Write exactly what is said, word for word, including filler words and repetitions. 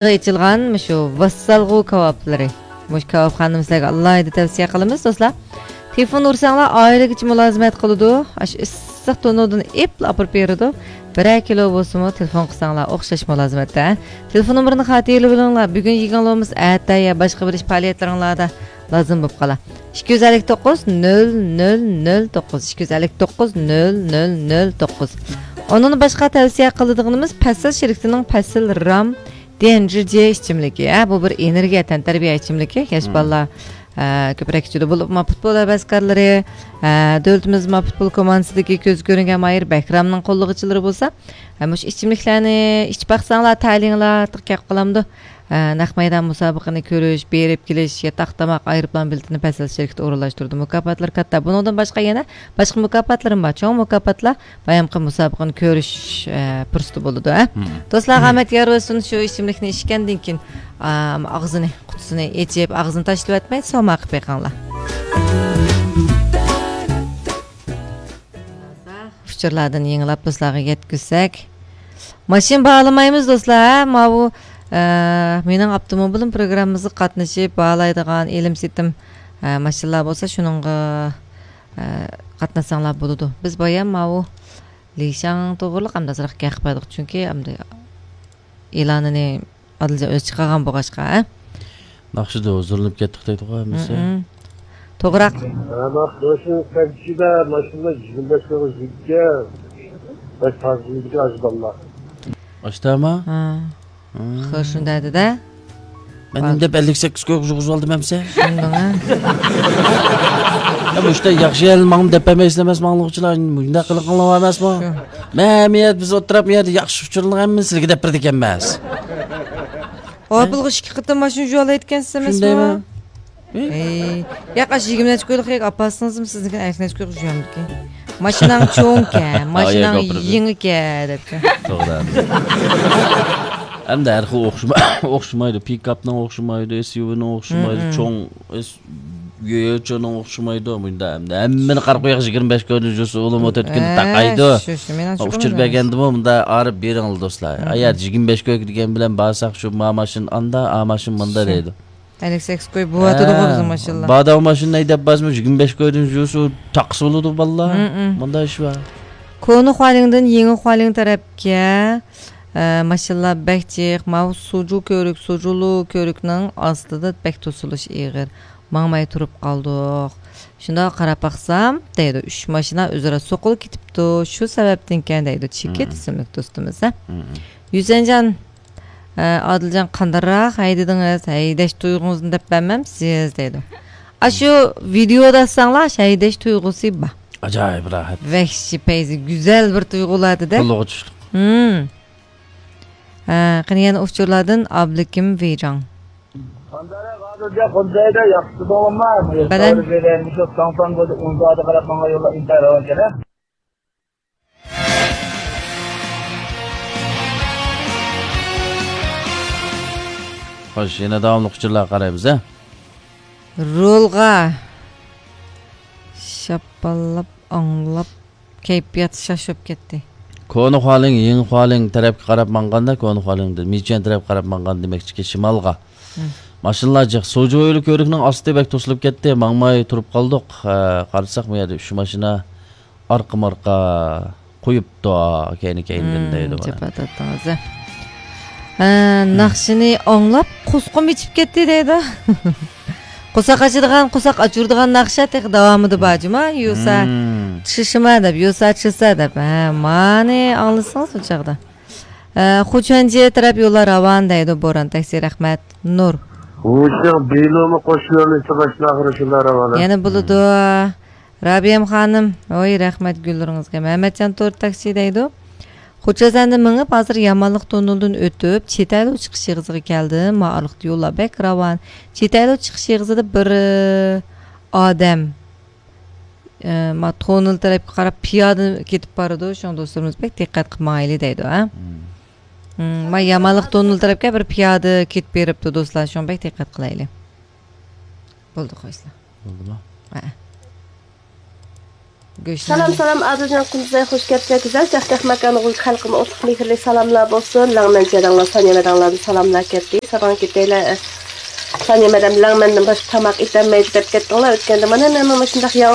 ئېچىلغان مۇشۇ ۋاسسالغۇ كاۋاپلىرى. مۇشۇ كاۋاپخانىنى سىلەرگە ئالاھىدە تەۋسىيە قىلىمىز، دوستلار. تېلېفون ئۇرساڭلار، ئائىلىگىچە مۇلازىمەت قىلىدۇ. ئاشۇ ئىسسىق تونۇردىن ئېپلا ئاپىرىپ بېرىدۇ. بىرەر كىلو بولسىمۇ تېلېفون قىلساڭلار، ئوخشاش مۇلازىمەتتە. تېلېفون نومۇرىنى خاتىرىلىۋېلىڭلار. بۈگۈن يېگەن لومىسى ئەتە يا باشقا بىر ئىش پائالىيەتلىرىڭلاردا لازىم بولۇپ قالار. ئىككى يۈز ئەللىك توققۇز، نۆل نۆل نۆل توققۇز، ئىككى يۈز ئەللىك توققۇز، نۆل نۆل نۆل توققۇز. ئۇنىڭدىن باشقا تەۋسىيە قىلىدىغىنىمىز پەسىل شىركىتىنىڭ پەسىل رام دى ئېن جي ئىچىملىكى. ھە، بۇ بىر ئېنېرگىيە، تەنتەربىيە ئىچىملىكى. ياش بالىلار، ئە، كۆپرەك ئىچىدۇ. بولۇپمۇ پۇتبول ھەۋەسكارلىرى، ئە، دۆلىتىمىز ما پۇتبول كوماندىسىدىكى كۆزگە كۆرۈنگەن ماھىر بەھرامنىڭ قوللىغۇچىلىرى بولسا، ھە، مۇشۇ ئىچىملىكلەرنى ئىچىپ باقساڭلار، تەلىيىڭلار كەپ قالامدۇ. ئە، نەق مەيدان مۇسابىقىنى كۆرۈش، بېرىپ كېلىش، ياتاق، تاماق، ئايروپىلان بېلىتىنى پەسىل شىركىتى ئورۇنلاشتۇرىدۇ. مۇكاپاتلىرى كاتتا. بۇنىڭدىن باشقا يەنە باشقا مۇكاپاتلىرىم بار. چوڭ مۇكاپاتلار بايامقى مۇسابىقىنى كۆرۈش، ئە، پۇرسىتى بولىدۇ، ھە. مم. دوستلار، ئامەت يار بولسۇن، شۇ ئىچىملىكنى ئىچكەندىن كېيىن، ئام، ئاغزىنى، قۇتىسىنى ئېچىپ، ئاغزىنى تاشلىۋەتمەي، سوما قىلىپ بېقىڭلار. ئۇچۇرلاردىن يېڭىلاپ دوستلارغا يەتكۈزسەك. ماشىنا باھالىمايمىز دوستلار، ھە؟ ماۋۇ، ئە، مېنىڭ ئاپتوموبىلىم پروگراممىمىزغا قاتنىشىپ، باھالايدىغان ئېلىم سېتىم، ئە، ماشىنىلار بولسا، شۇنىڭغا، ئە، قاتناشساڭلار بولىدۇ. بىز بايام ماۋۇ لىشاڭ توغرىلىق ئەمدى ئازراق گەپ قىلىپ باردۇق، چۈنكى ئەمدى ئېلانىنى ئادىلجان ئۆزى چىقارغان بولغاچقا، ھە؟ ناخشىدا ھۇزۇرلىنىپ كەتتۇق دەيدىغۇ ھەممىسى. مم. توغراق. ھە، مانا بۇ سەنچىدە ماشىنا يىگىرمە بەش كىلوغا يېتىدىكەن. بەك تازىلىدىكەن ئاشۇ بالىلار. ئاشتاما؟ ھە. ھە. خېرى شۇنداق دېدى. مەن نېمە دەپ ئەللىك سەككىز كويغا يۇغۇزۇۋالدىم ئەمسە؟ شۇنداق، ھە. يا، مۇشتا ياخشى يەرنى ماڭا دەپ بەرمەيسىلەر ئەمەس، ماڭلىغۇچىلار. مۇنداق قىلىقىڭلار ئەمەسمۇ؟ شۇ. مەن بۇ يەردە، بىز ئولتۇرۇپ، بۇ يەردە ياخشى ئۇچۇرلارنىڭ ھەممىنى سىلەرگە دەپ بېرىدىكەنمەن. ئاپىلغا ئىككى قېتىم ماشىنا يۇيالايدىكەنسىز ئەمەسمۇ؟ شۇندايمۇ؟ ئەي، ياق، ئاشۇ يىگىرمە نەچچە كويلۇق يەرگە ئاپارسىڭىزمۇ سىزنىڭكىنى ئەللىك نەچچە كويغا يۇيامدىكىن. ماشىناڭ چوڭكەن، ماشىناڭ يېڭىكەن دەپتۇ. توغرا. ھەمدە ھەر خىل ئوخشىما-، ئوخشىمايدۇ. پىكاپنىڭ ئوخشىمايدۇ، ئېس يۇ ۋىنىڭ ئوخشىمايدۇ، مم، چوڭ ئېس-، يۆچونىڭ ئوخشىمايدۇ. مۇنداق ھەمدە ھەممىنى قارا قوياق يىگىرمە بەش كويدىن يۇسا ئۇلىمۇ تۆتكىنى تاقايدۇ. ئۇچۇر بەرگەندىمۇ مۇندا ئارىپ بېرىڭلار دوستلار. مم. ئايا يىگىرمە بەش كوي دېگەن بىلەن بارساق شۇ ما ماشىنا ئاندا، ئا ماشىنا مۇندا دەيدۇ. ئەللىك سەككىز كوي بوۋاتىدىغۇ بىزنىڭ ماشىنىلار. بادام ماشىنا ھەيدەپ بارسىمۇ يىگىرمە بەش كويدىن يۈرسە تاقىسى بولىدۇ بالىلار. مم، مم. مۇنداق ئىش بار. كونا خۇالىڭدىن يېڭى خۇالىڭ تەرەپكە، ئە، ماشىنىلار بەك جىق. ماۋۇ سۇجۇ كۆۋرۈك، سۇجۇلۇ كۆۋرۈكنىڭ ئاستىدا بەك توسۇلۇش ئېغىر. ماڭماي تۇرۇپ قالدۇق. شۇنداق قاراپ باقسام، دەيدۇ، ئۈچ ماشىنا ئۆزئارا سوقۇلۇپ كېتىپتۇ. شۇ سەۋەبتىنكەن دەيدۇ، چېكىت ئىسىملىك دوستىمىز، ھە. يۈسەنجان، ئە، ئادىلجان، قانداقراق ھەيدىدىڭىز؟ ھەيدەش تۇيغۇڭىزنى دەپ بەرمەمسىز؟ دەيدۇ. ئاشۇ ۋىدېئودا ئاتساڭلار، ھەيدەش تۇيغۇسى بار. ئاجايىپ راھەت. ۋەھشىي پەيزى، گۈزەل بىر تۇيغۇلاردىدە. قولىغا چۈشتۇق. ھە، قېنى يەنە ئۇچۇرلاردىن ئابلىكىم ۋىجاڭ. خوش، يەنە داۋاملىق ئۇچۇرلارغا قارايمىز، ھە؟ رولغا شاپپاللاپ ئاڭلاپ كەيپىيات شاش بولۇپ كەتتى. كونا خۇالىڭ، يېڭى خۇالىڭ تەرەپكە قاراپ ماڭغاندا، كونا خۇالىڭدىن مىچيەن تەرەپكە قاراپ ماڭغان دېمەكچىكى شىمالغا. مم. ماشىنىلار جىق. سوجۇ ھويلا كۆۋرۈكنىڭ ئاستى بەك توسۇلۇپ كەتتى. ماڭماي تۇرۇپ قالدۇق. ھە، قارىساق، بۇ يەردە ئۈچ ماشىنا ئارقىمۇ ئارقا قويۇپتۇ، كەينى كەينىدىن مم، دەيدۇ مانا. جاپا تارتتىڭىز، ھە. ھە، ناخشىنى ئاڭلاپ قۇسقۇم ئېچىپ كەتتى دەيدۇ. قورساق ئاچىدىغان، قورساق ئاچۇرىدىغان ناخشا تېخى داۋامىدا بار جۇما. يۇسا مم. چىشىما دەپ، يۇسا چىسا دەپ. ھە، مانى ئاڭلىسىڭىز ئۇ چاغدا. ئە، خۇچەنجى تەرەپ يوللار راۋان دەيدۇ، بوران تەكسى، رەھمەت، نۇر. ھۇشياڭ بىلۇمۇ قوشۇلۇۋېلىشى باشلاغىرى شۇنداق راۋان. يەنە بولىدۇ. رابىيەم خانىم، ۋاي، رەھمەت گۈللىرىڭىزگە. مەمەتجان تور تاكسى دەيدۇ. خوچەزەندە مېڭىپ، ھازىر يامانلىق توننېلدىن ئۆتۈپ، چېتەلو چىقىش ئېغىزىغا كەلدىم. ما ئارىلىقتا يوللار بەك راۋان. چېتەلو چىقىش ئېغىزىدا بىر، ئادەم، ئە، ما توننېل تەرەپكە قاراپ پىيادە كېتىپ بارىدۇ. شۇڭا دوستلىرىمىز بەك دىققەت قىلىپ ماڭايلى دەيدۇ، ھە؟ مم. مم، ما يامانلىق توننېل تەرەپكە بىر پىيادە كېتىپ بېرىپتۇ، دوستلار. شۇڭا بەك دىققەت قىلايلى. بولدى، خوشلا. بولدىمۇ؟ ھە. سالام، سالام، ئادىلجان قۇندۇزاي، خوش كەپسىلەر. گۈزەل چاقچاق ماكانغا، خەلقىمگە ئوتلۇق مېھىرلىك سالاملار بولسۇن. لەڭمەن جېنىڭلار، سانىيە مەدەڭلاردىن سالاملار كەتتى. ساراڭ كېتەيلەر. سانىيە مەدەم لەڭمەندىن باشقا تاماق ئېتەلمەيدۇ دەپ كەتتىڭلار. ئۆتكەندە مانا مەنمۇ مۇشۇنداق ياڭ